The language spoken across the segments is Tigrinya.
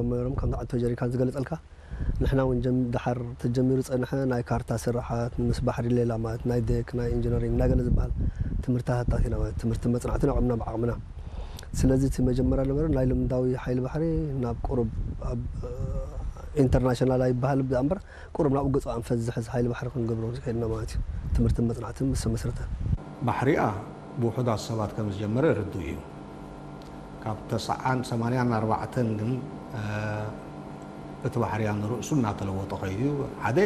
ጀመሮም፣ ከምቲ ኣቶ ጀሪካን ዝገለጸልካ፣ ንሕና እውን ጀም-፣ ደሓር ተጀሚሩ ጸንሐ ናይ ካርታ ስራሓት፣ ምስ ባሕሪ ሌላ ማለት ናይ ዴክ፣ ናይ ኢንጂነሪንግ፣ ናይ ገለ ዝበሃል ትምህርትታት ኣቲና ማለት ትምህርቲ መጽናዕትን ኣቑምና ብዓቕምና። ስለዚ እቲ መጀመርያ ነበረ ናይ ልምዳዊ ሓይሊ ባሕሪ ናብ ቁሩብ ኣብ፣ እ፣ ኢንተርናሽናል ኣይበሃል እምበር ቁሩብ ናብኡ ገጹ ኣንፈት ዝሕዝ ሓይሊ ባሕሪ ክንገብሮ ዝኸድና ማለት እዩ። ትምህርትን መጽናዕትን ምስ ተመስረተ። ባሕሪኣ ብውሑዳት ሰባት ከም ዝጀመረ ርዱእ እዩ። ካብ ተስዓን ሰማንያን ኣርባዕተን ግን፣ እ፣ እቲ ባሕርያ ንርእሱ እናተለወጠ ከይዱ እዩ። ሓደ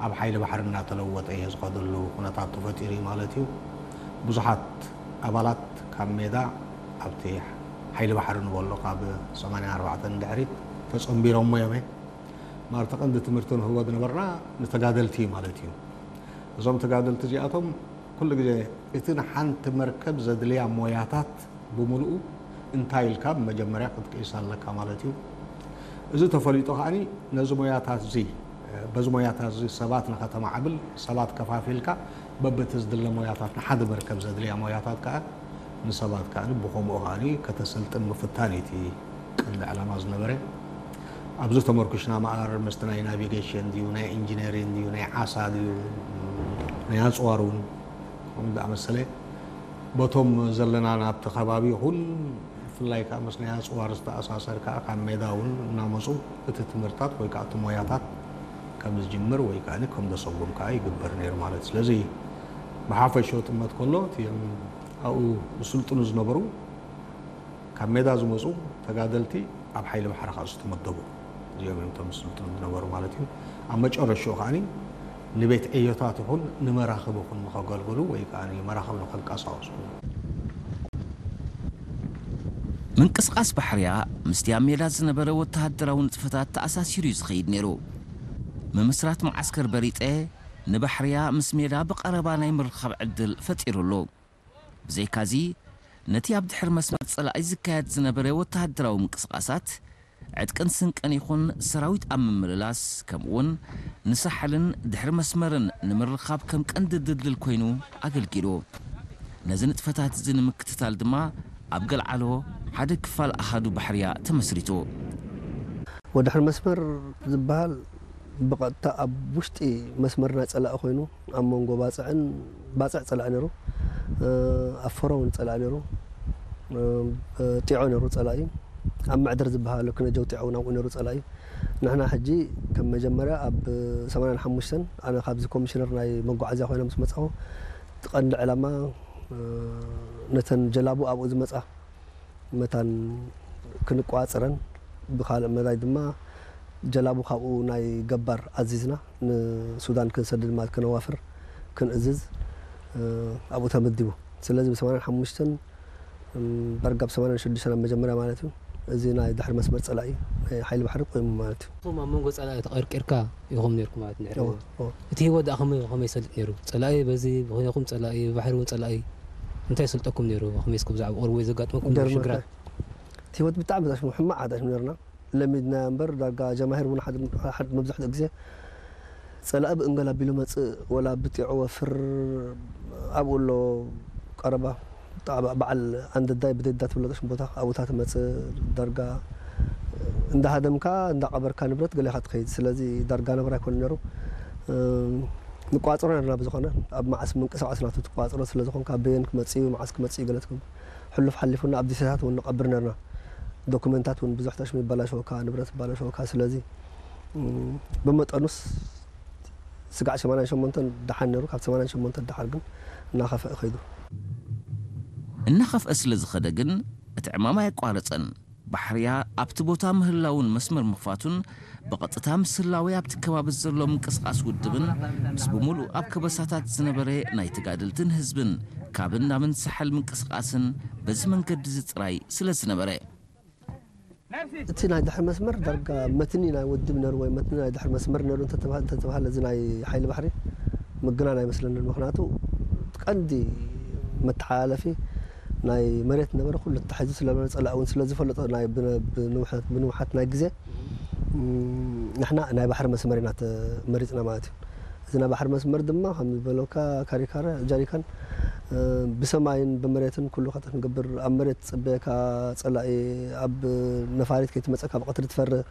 ኣብ ሓይሊ ባሕሪ እናተለወጠ እዩ ዝኸደሉ ኩነታት ተፈጢሩ እዩ ማለት እዩ። ብዙሓት ኣባላት ካብ ሜዳ ኣብቲ ሓይሊ ባሕሪ ንበሎ ካብ ሰማንያን ኣርባዕተን ድሕሪት ተጸንቢሮሞ እዮም። ማር ተቐንዲ ትምህርቲ ንህቦ ዝነበርና ንተጋደልቲ እዩ ማለት እዩ። እዞም ተጋደልቲ እዚኣቶም ኩሉ ግዜ እቲ ንሓንቲ መርከብ ዘድልያ ሞያታት ብምሉኡ እንታይ ኢልካ ብመጀመርያ ክትቅይሳ ኣለካ ማለት እዩ። እዚ ተፈሊጡ ከኣኒ ነዚ ሞያታት እዚ፣ በዚ ሞያታት እዚ ሰባት ንኸተማዕብል፣ ሰባት ከፋፊልካ በብቲ ዝድለ ሞያታት ንሓደ መርከብ ዘድልያ ሞያታት ከኣ ንሰባት ከኣ ብኸምኡ ከኣኒ ከተሰልጥን ምፍታን እዩ እቲ ቀንዲ ዕላማ ዝነበረ። ኣብዚ ተመርኩሽና መኣር ምስቲ ናይ ናቪጌሽን ድዩ፣ ናይ ኢንጂነሪንግ ድዩ፣ ናይ ዓሳ ድዩ፣ ናይ ኣጽዋር እውን ከምኡ ዝኣመሰለ በቶም ዘለና ናብቲ ከባቢ ይኹን ብፍላይ ከኣ ምስ ናይ ኣጽዋር ዝተኣሳሰር ከኣ ካብ ሜዳ እውን እናመጹ እቲ ትምህርታት ወይ ከኣ እቲ ሞያታት ከም ዝጅምር ወይ ከኣ ከም ዘሰጉም ከኣ ይግበር ነይሩ ማለት እዩ። ስለዚ ብሓፈሽኡ ጥመት ከሎ እቲኦም ኣብኡ ዝስልጥኑ ዝነበሩ ካብ ሜዳ ዝመጹ ተጋደልቲ ኣብ ሓይሊ ባሕሪ ከኣ ዝተመደቡ እዚኦም እዮም እቶም ዝስልጥኑ ዝነበሩ ማለት እዩ። ኣብ መጨረሽኡ ከኣ ንቤት ዕዮታት ይኹን ንመራኽብ ይኹን ንኸገልግሉ ወይ ከኣ መራኽብ ንኸንቀሳቐሱ። ምንቅስቓስ ባሕርያ ምስቲ ኣብ ሜዳ ዝነበረ ወተሃደራዊ ንጥፈታት ተኣሳሲሩ እዩ ዝኸይድ ነይሩ። ምምስራት መዓስከር በሪጠ ንባሕርያ ምስ ሜዳ ብቐረባ ናይ ምርኻብ ዕድል ፈጢሩ ኣሎ። ብዘይካዚ ነቲ ኣብ ድሕሪ መስመር ጸላኢ ዝካየድ ዝነበረ ወተሃደራዊ ምንቅስቓሳት ዕጥቅን ስንቅን ይኹን ሰራዊት ኣብ ምምልላስ ከምኡውን ንሳሕልን ድሕሪ መስመርን ንምርኻብ ከም ቀንዲ ድልድል ኮይኑ ኣገልጊሉ። ነዚ ንጥፈታት እዚ ንምክትታል ድማ ኣብ ገልዓሎ ሓደ ክፋል ኣሃዱ ባሕርያ ተመስሪቱ። ወድሕሪ መስመር ዝበሃል ብቐጥታ ኣብ ውሽጢ መስመር ናይ ጸላኢ ኮይኑ ኣብ መንጎ ባጽዕን ባጽዕ ጸላኢ ነይሩ፣ ኣብ ፈሮ እውን ጸላኢ ነይሩ፣ ጢዖ ነይሩ ጸላኢ፣ ኣብ መዕደር ዝበሃል ኣሎ ክነጀው ጢዖ እውን ኣብኡ ነይሩ ጸላኢ። ንሕና ሕጂ ከም መጀመርያ ኣብ ሰማንያን ሓሙሽተን ኣነ ካብዚ ኮሚሽነር ናይ መጓዓዝያ ኮይነ ምስ መጻኹ እቲ ቀንዲ ዕላማ ነተን ጀላቡ ኣብኡ ዝመጻ መታን ክንቋጽረን ብኻልእ መዳይ ድማ ጀላቡ ካብኡ ናይ ገባር ኣዚዝና ንሱዳን ክንሰድድ ማለት ከነዋፍር ክንእዝዝ ኣብኡ ተመዲቡ። ስለዚ ብ ሰማንያን ሓሙሽተን ዳርጋ ብ ሰማንያን ሽዱሽተን ኣብ መጀመርያ ማለት እዩ እዚ ናይ ድሕሪ መስመር ጸላኢ ናይ ሓይሊ ባሕሪ ቆይሙ ማለት እዩ። ንስኹም ኣብ መንጎ ጸላኢ ተቐርቂርካ ኢኹም ነይርኩም ማለት ድሕሪ እወ እወ እቲ ህይወት ደኣ ከመይ ከመይ ይሰልጥ ነይሩ? ጸላኢ በዚ ብኸይንኹም ጸላኢ ብባሕሪ እውን ጸላኢ እንታይ ይሰልጠኩም ነይሩ? ከመይ እስከ ብዛዕባ ቁሩብ ወይ ዘጋጥመኩም ነይሩ ሽግራት? እቲ ህይወት ብጣዕሚ ዘሽሙ ሕማቕ ዓዳሽ ነርና። ለሚድና እምበር ዳርጋ ጀማሂር እውን ሓደ ሓደ መብዛሕትኡ ግዜ ጸላኢ ብእንገል ኣቢሉ መጽእ ወላ ብጢዑ ወፍር ኣብኡ ኣሎ ቀረባ ጣዕባ በዓል ኣንደዳይ ብደዳ ትብለጦሽ ቦታ ኣብኡታ ትመጽእ ዳርጋ እንዳሃደምካ እንዳቐበርካ ንብረት ገሊኻ ትኸይድ። ስለዚ ዳርጋ ነብራ ኣይኮነ ነሩ። ንቋጽሮ ነርና ብዝኾነ ኣብ መዓስ ምንቅስቃስ ናቱ ትቋጽሮ ስለ ዝኾንካ በየን ክመጽእ እዩ መዓስ ክመጽእ እዩ ገለ ትብል። ሕሉፍ ሓሊፉና ኣብ ዲሴታት እውን ንቐብር ነርና። ዶኩመንታት እውን ብዙሕ ተሽሚ ይበላሸወካ፣ ንብረት ይበላሸወካ። ስለዚ ብመጠኑስ ስጋዕ ሰማንያን ሸሞንተን ደሓን ነሩ፣ ካብ ሰማንያን ሸሞንተን ደሓር ግን እናኸፍአ ከይዱ። እናኸፍአ ስለ ዝኸደ ግን እቲ ዕማም ኣየቋረጸን። ባሕርያ ኣብቲ ቦታ ምህላውን መስመር ምኽፋቱን ብቐጥታ ምስ ህላዌ ኣብቲ ከባቢ ዘሎ ምንቅስቓስ ውድብን ምስ ብምሉእ ኣብ ከበሳታት ዝነበረ ናይ ተጋደልትን ህዝብን ካብን ናብን ሳሕል ምንቅስቓስን በዚ መንገዲ እዚ ጥራይ ስለ ዝነበረ። እቲ ናይ ድሕሪ መስመር ዳርጋ መትኒ ናይ ውድብ ነሩ ወይ መትኒ ናይ ድሕሪ መስመር ነሩ እንተተባህለ እዚ ናይ ሓይሊ ባሕሪ ምግናን ኣይመስለንን። ምኽንያቱ ቀንዲ መተሓላለፊ ናይ መሬት ነበረ ኩሉ ተታሒዙ ስለነበረ ጸላኢ እውን ስለ ዝፈለጦ ናይ ብንውሓት ናይ ግዜ ንሕና ናይ ባሕሪ መስመር ኢና መሪፅና ማለት እዩ። እዚ ናይ ባሕሪ መስመር ድማ ከም ዝበለካ ካሪካረ ጃሪካን ብሰማይን ብመሬትን ኩሉ ከተ ክንገብር ኣብ መሬት ዝፅበየካ ፀላኢ ኣብ ነፋሪት ከይትመፀካ ብቐትሪ ትፈርህ